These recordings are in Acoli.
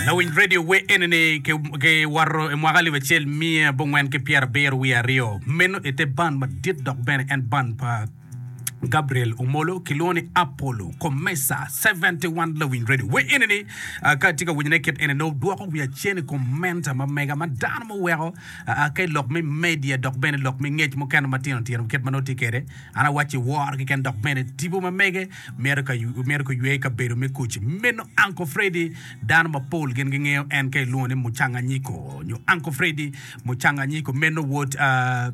Lawiny radio wer eni-ni kiwoto i mwaka alip acel miya abongwen ki pyerabiro wiye aryo. Meno ite band madit dok bene en band pa Gabriel Omolo kilwongo ni Apollo Comesa 71 Lawiny Radio. Wer eni ni ka itye ka winyone kit eni nongo dwoko wiya cen i kom menta ma mega ma dano muweko ka i lok me media dok bene lok me ngec mukene matino tino kit ma nongo tye kwede. An awacci woro keken dok bene tipo ma mege myero ka myero kuywe i kabedo me kuc. Meno Uncle Freddy dano mapol gin gingeyo en ka ilwongo ni Mucanganyiko nyo Uncle Freddy Mucanganyiko meno wod uh,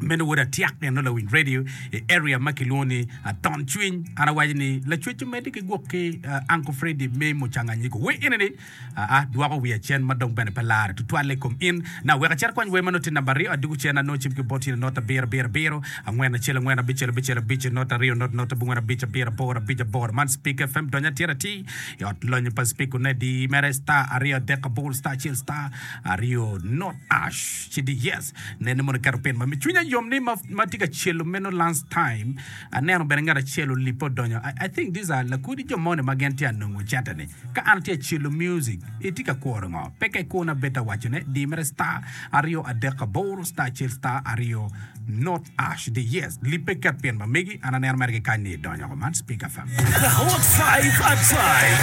meno wod Atiak eno lawiny radio i area ma kilwongo ni Aton Cwiny. An awaco ni lacwec omedde ki gwok ki uh, Uncle Freddy me Mucanganyiko. Wer eni ni Aa, dwoko wiya cen ma dong bene pe larre tutwalle i kom in. Na, wek acit akwany wer ma nongo tye namba aryo, adwogo cen anongo cim ki bot in i not abiro abiro abiro, angwen acel angwen abicel abicel abic, not aryo not not abongwen abic abiro aboro abic aboro. Man Spik FM, dony atir atir i ot lonyo pa Spik Onedi mere star aryo adek aboro star acel star aryo not ash ci di yes. Nen ni mono iketo pin ma mi cwinya yom ni ma, ma tye ka celo meno lunch time. Aneno bene ngat acel olibbe odonyo. I, I think these are lakodi jo moni ma gin tye anongo cente ni. Ka an atye ka celo music, itye ka kuro ngo? Pe ka ikuna bed ta waco ne, di mere star aryo adek aboro star acel star aryo not ash di yes. Lipe ket pin ma megi, an aneno mere ki kany ni idonyo oko man Speaker FM. The Hot Five at Five.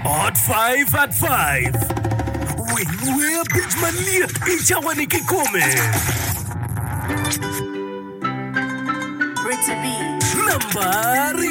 Hot Five at Five. Winy wer abic malyet i cawa-ni kikome. Namba aryo.